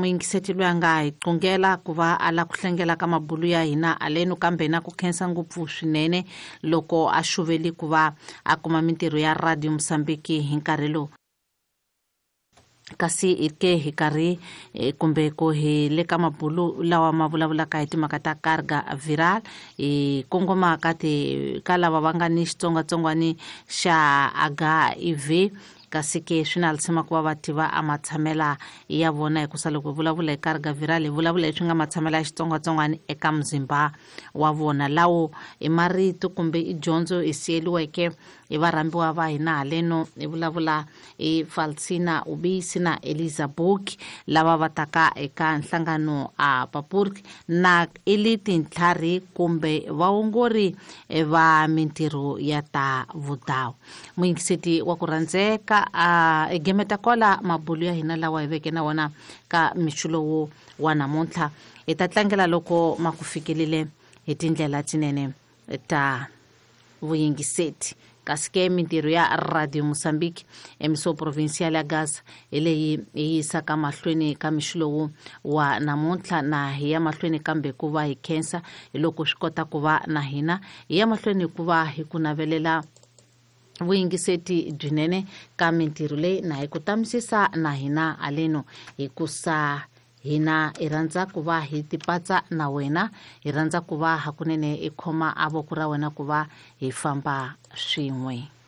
Muyingiseti loyi a nga hi qungela ku va a la ku hlengela ka mabulu ya hina aleno, kambe na ku khensa ngopfu swinene loko a xuveli ku va a kuma mintirho ya Radio Mosambiki hi nkarhi lowu. Kasi hi ke hi karhi kumbe ku hi le ka mabulu lawa ma vulavulaka hi timhaka ta carga viral, hi kongoma ka ti ka lava va nga ni xitsongwatsongwani xa HIV. Kasi ke swi na lisima ku va va tiva a matshamela ya vona, hikusa loko hi vulavula hi carga viral hi vulavula leswi nga matshamela ya xitsongwatsongwani eka muzimba wa vona. Lawo i marito kumbe i dyondzo hi siyeliweke hi varhambiwa va hina haleno, hi vulavula hi Falsina Ubisi na Eliza Book, lava va taka eka nhlangano a Papurk, na i li tintlhari kumbe vaongori va mintirho ya ta vudawu. Muyingiseti wa ku rhandzeka, a gemeta kwala mabulu ya hina lawa hi veke na wona ka mixo lowu wa namuntlha. Hi ta tlangela loko ma ku fikelile hi tindlela tinene ta vuyingiseti. Kasi ke mintirho ya Radio Mosambiki emiso provincial ya Gaza hi leyi hi yisaka mahlweni ka mixo lowu wa namuntlha, na hi ya mahlweni kambe ku va hi khensa hi loko swi kota ku va na hina hi ya mahlweni ku va hi ku navelela vuyingiseti byinene ka mintirho leyi, na hi ku tamisisa na hina aleno, hikusa hina hi rhandza ku va hi tipatsa na wena, hi rhandza ku va hakunene hi khoma a voko ra wena ku va hi famba swin'we.